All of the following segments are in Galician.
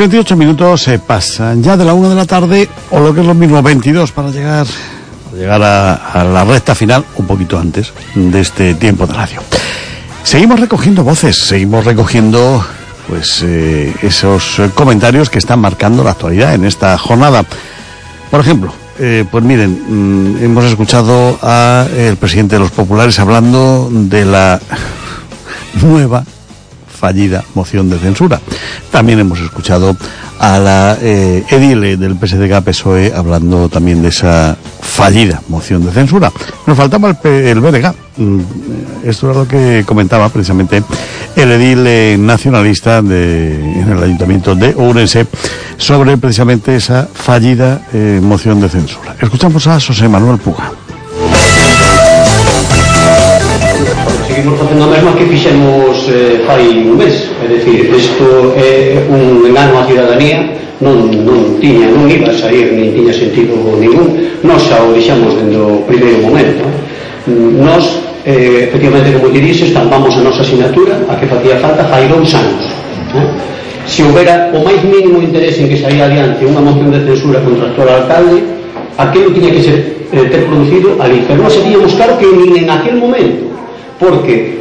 38 minutos se pasan ya de la 1 de la tarde, o lo que es lo mismo, 22, para llegar a la recta final, un poquito antes de este tiempo de radio. Seguimos recogiendo voces, seguimos recogiendo pues esos comentarios que están marcando la actualidad en esta jornada. Por ejemplo, pues miren, hemos escuchado al presidente de los populares hablando de la nueva fallida moción de censura. También hemos escuchado a la edile del PSDG-PSOE hablando también de esa fallida moción de censura. Nos faltaba el BDG. Esto es lo que comentaba precisamente el edil nacionalista en el Ayuntamiento de Ourense sobre precisamente esa fallida moción de censura. Escuchamos a José Manuel Puga. Seguimos facendo o mesmo que fixemos fai un mes, é dicir, isto é un engano á ciudadanía, non iba a sair, nin tiña sentido ningún. Nós xa o deixamos dende o primeiro momento. Nós, efectivamente, como te dixes, estampamos a nosa asignatura, a que facía falta fai 2 anos. Se houbera o máis mínimo interés en que saíra adiante unha moción de censura contra o actual alcalde, aquilo tiña que ter producido ali, pero nós sabíamos claro que nin en aquel momento, porque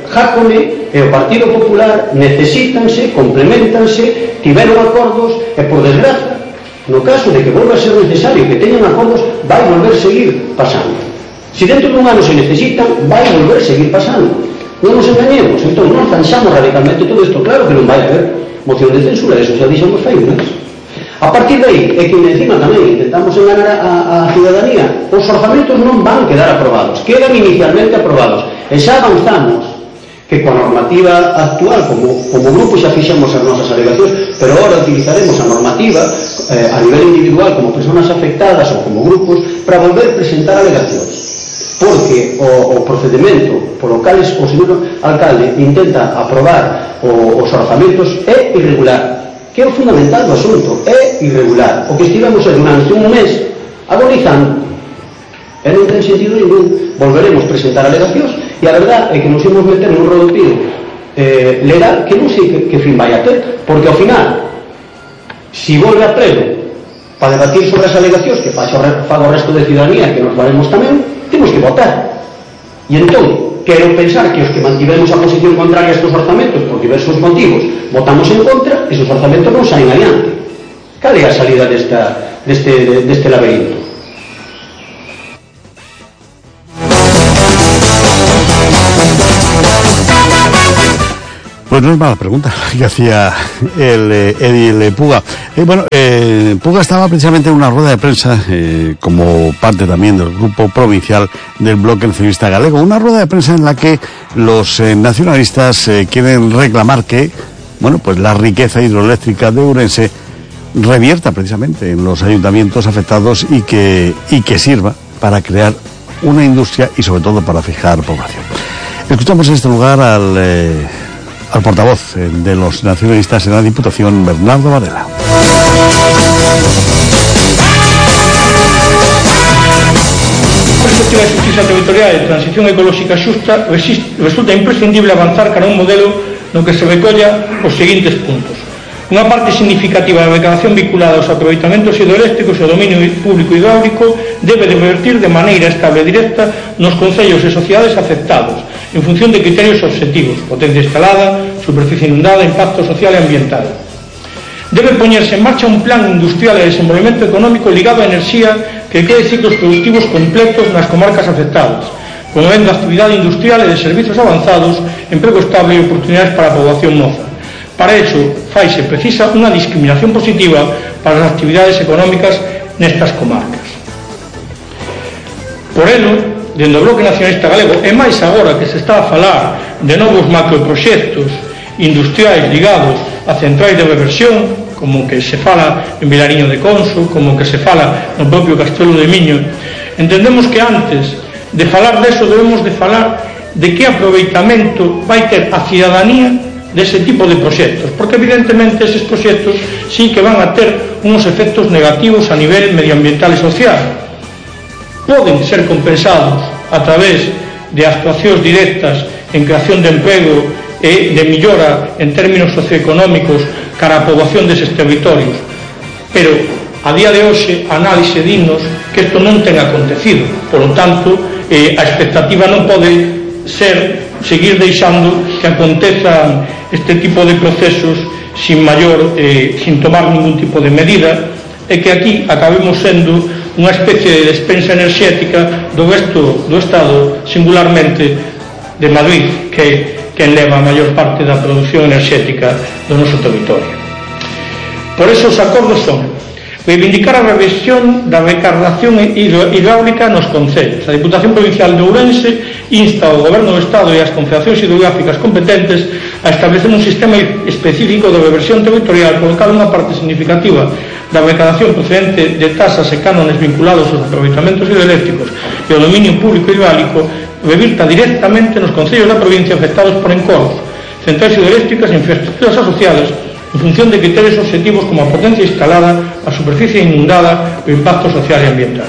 Jácome e o Partido Popular necesítanse, complementanse, tiveron acordos e, por desgraza, no caso de que volva a ser necesario que teñan acordos, vai volver a seguir pasando. Se dentro dun ano se necesitan, vai volver a seguir pasando. Non nos engañemos, entón non zanxamos radicalmente todo isto. Claro que non vai haber moción de censura, eso xa dixemos fai un mes. A partir de aí, é que encima tamén intentamos enganar a ciudadanía. Os orzamentos non van quedar aprobados, quedan inicialmente aprobados, e xa avanzamos que coa normativa actual, como grupo xa fixemos as nosas alegacións, pero ahora utilizaremos a normativa a nivel individual como persoas afectadas ou como grupos para volver a presentar alegacións, porque o procedimento polo cal o señor alcalde intenta aprobar os orzamentos é irregular, que é o fundamental do asunto, é irregular. O que estivemos durante un mes agonizando, e non ten sentido ningún. Volveremos a presentar alegacións, e a verdade é que nos imos meter nun rodopido legal que non sei que fin vai a ter, porque ao final, se volve a pleno para debatir sobre as alegacións que faga o resto de ciudadanía, que nos valemos tamén, temos que votar. E entón, quero pensar que os que mantivemos a posición contraria a estes orzamentos por diversos motivos votamos en contra, esos orzamentos non saen adiante. Cal é a salida deste laberinto? Pues no es mala pregunta que hacía el edil Puga. Puga estaba precisamente en una rueda de prensa como parte también del grupo provincial del Bloque Nacionalista Galego. Una rueda de prensa en la que los nacionalistas quieren reclamar que, pues la riqueza hidroeléctrica de Ourense revierta precisamente en los ayuntamientos afectados y que sirva para crear una industria y sobre todo para fijar población. Escuchamos en este lugar al portavoz de los nacionalistas en la Diputación, Bernardo Varela. Perspectiva de justicia territorial e transición ecolóxica xusta, resulta imprescindible avanzar cara a un modelo no que se recolla os seguintes puntos. Unha parte significativa da recadación vinculada aos aproveitamentos hidroeléctricos e ao dominio público hidráulico debe de revertir de maneira estable e directa nos concellos e sociedades afectados, en función de criterios objetivos: potencia instalada, superficie inundada, impacto social e ambiental. Debe poñerse en marcha un plan industrial e de desenvolvemento económico ligado á enerxía que cree ciclos productivos completos nas comarcas afectadas, promovendo a actividade industrial e de servizos avanzados, emprego estable e oportunidades para a poboación moza. Para iso, faise precisa unha discriminación positiva para as actividades económicas nestas comarcas. Por elo, dende o Bloque Nacionalista Galego, e máis agora que se está a falar de novos macroproxectos industriais ligados a centrais de reversión, como que se fala en Vilariño de Conso, como que se fala no propio Castelo de Miño, entendemos que antes de falar deso debemos de falar de que aproveitamento vai ter a cidadanía dese tipo de proxectos, porque evidentemente eses proxectos sí que van a ter unos efectos negativos a nivel medioambiental e social. Poden ser compensados a través de actuacións directas en creación de emprego e de millora en términos socioeconómicos cara a poboación deses territorios, pero a día de hoxe a análise dinos que isto non ten acontecido, polo tanto a expectativa non pode ser seguir deixando que acontezan este tipo de procesos sin tomar ningún tipo de medida, e que aquí acabemos sendo unha especie de despensa enerxética do resto do Estado, singularmente de Madrid, que é quen leva a maior parte da produción enerxética do noso territorio. Por eso os acordos son reivindicar a revisión da recargación hidráulica nos concellos. A Diputación Provincial de Ourense insta ao Goberno do Estado e ás confederacións hidrográficas competentes a establecer un sistema específico de reversión territorial colocar unha parte significativa da recadación procedente de tasas e cánones vinculados aos aproveitamentos hidroeléctricos e ao dominio público hidráulico revirta directamente nos concellos da provincia afectados por encorros, centrais hidroeléctricas e infraestructuras asociadas en función de criterios objetivos como a potencia instalada, a superficie inundada e o impacto social e ambiental.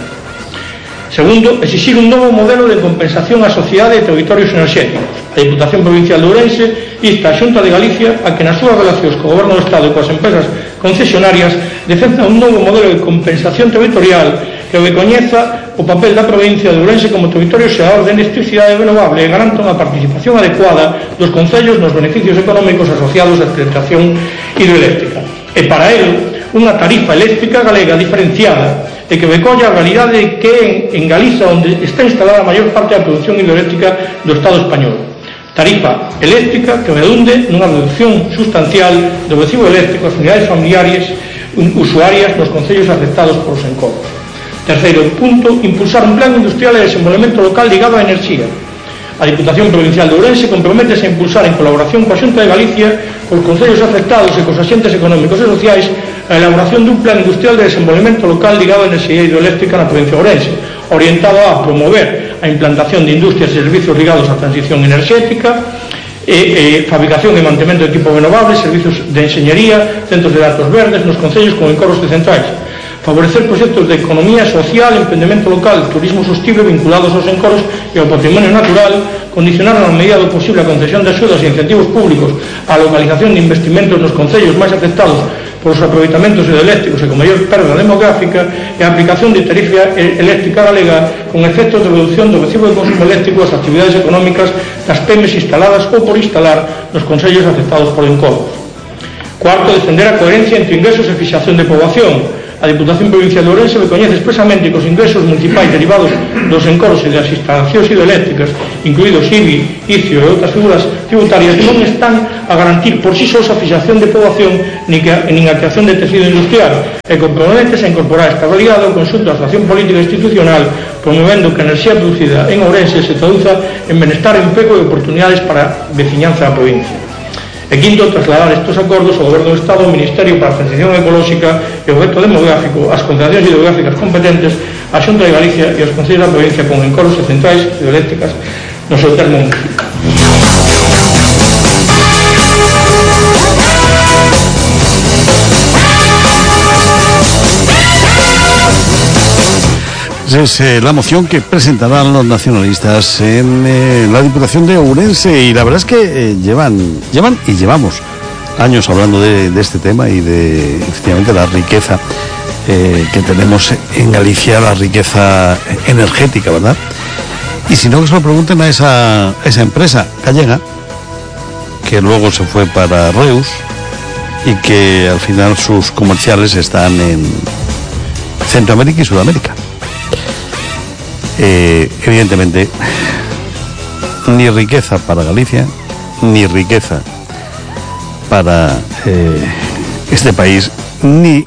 Segundo, exixir un novo modelo de compensación á sociedade de territorios enerxéticos. A Diputación Provincial de Ourense insta a Xunta de Galicia a que nas súas relacións co Goberno do Estado e coas empresas concesionarias defenda un novo modelo de compensación territorial que recoñeza o papel da provincia de Ourense como territorio xerador de electricidade renovable e garanta unha participación adecuada dos concellos nos beneficios económicos asociados á explotación hidroeléctrica. E para el, unha tarifa eléctrica galega diferenciada e que recolla a realidade de que en Galiza, onde está instalada a maior parte da produción hidroeléctrica do Estado español. Tarifa eléctrica que redunde nunha reducción sustancial do recibo eléctrico ás unidades familiares usuarias nos concellos afectados por os encorros. Terceiro punto, impulsar un plan industrial de desenvolvemento local ligado á enerxía. A Diputación Provincial de Ourense comprométese a impulsar en colaboración coa Xunta de Galicia, cos concellos afectados e cos axentes económicos e sociais a elaboración dun plan industrial de desenvolvemento local ligado á enerxía hidroeléctrica na provincia de Ourense, orientado a promover a implantación de industrias e servicios ligados á transición enerxética, fabricación e mantemento de equipos renovables, servicios de enxeñería, centros de datos verdes nos concellos con encorros de centrais. Favorecer proxectos de economía social, emprendemento local, turismo sostible vinculados aos encorros e ao patrimonio natural, condicionar na medida do posible a concesión de axudas e incentivos públicos á localización de investimentos nos concellos máis afectados por os aproveitamentos hidroeléctricos e con maior perda demográfica e a aplicación de tarifa eléctrica galega con efectos de reducción do recibo de consumo eléctrico ás actividades económicas das PEMES instaladas ou por instalar nos concellos afectados por encorros. Cuarto, defender a coherencia entre ingresos e fixación de poboación. A Diputación Provincial de Ourense recoñece expresamente que os ingresos municipais derivados dos encorros e das instalacións hidroeléctricas, incluídos IBI, ICIO e outras figuras tributarias, non están a garantir por si sós a fixación de poboación nin a creación de tecido industrial, e comprométese a incorporar esta realidade ao conxunto da actuación política institucional, promovendo que a enerxía producida en Ourense se traduza en benestar, emprego e oportunidades para a veciñanza da provincia. E quinto, trasladar estes acordos ao Goberno do Estado, ao Ministerio para a Transición Ecolóxica e o Reto Demográfico, ás confederacións hidrográficas competentes, á Xunta de Galicia e aos concellos da provincia con encorros e centrais hidroeléctricas no seu termo municipal. Es la moción que presentarán los nacionalistas en la Diputación de Ourense, y la verdad es que llevamos años hablando de este tema y de efectivamente la riqueza que tenemos en Galicia, la riqueza energética, ¿verdad? Y si no, que se lo pregunten a esa empresa gallega que luego se fue para Reus y que al final sus comerciales están en Centroamérica y Sudamérica. Evidentemente, ni riqueza para Galicia, ni riqueza para este país, ni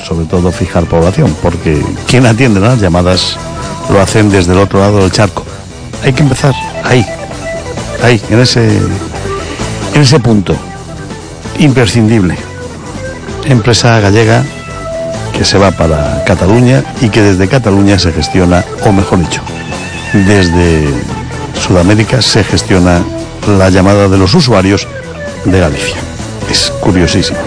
sobre todo fijar población, porque quien atiende las llamadas lo hacen desde el otro lado del charco. Hay que empezar ahí, en ese punto imprescindible. Empresa gallega que se va para Cataluña y que desde Cataluña se gestiona, o mejor dicho, desde Sudamérica se gestiona la llamada de los usuarios de Galicia. Es curiosísimo.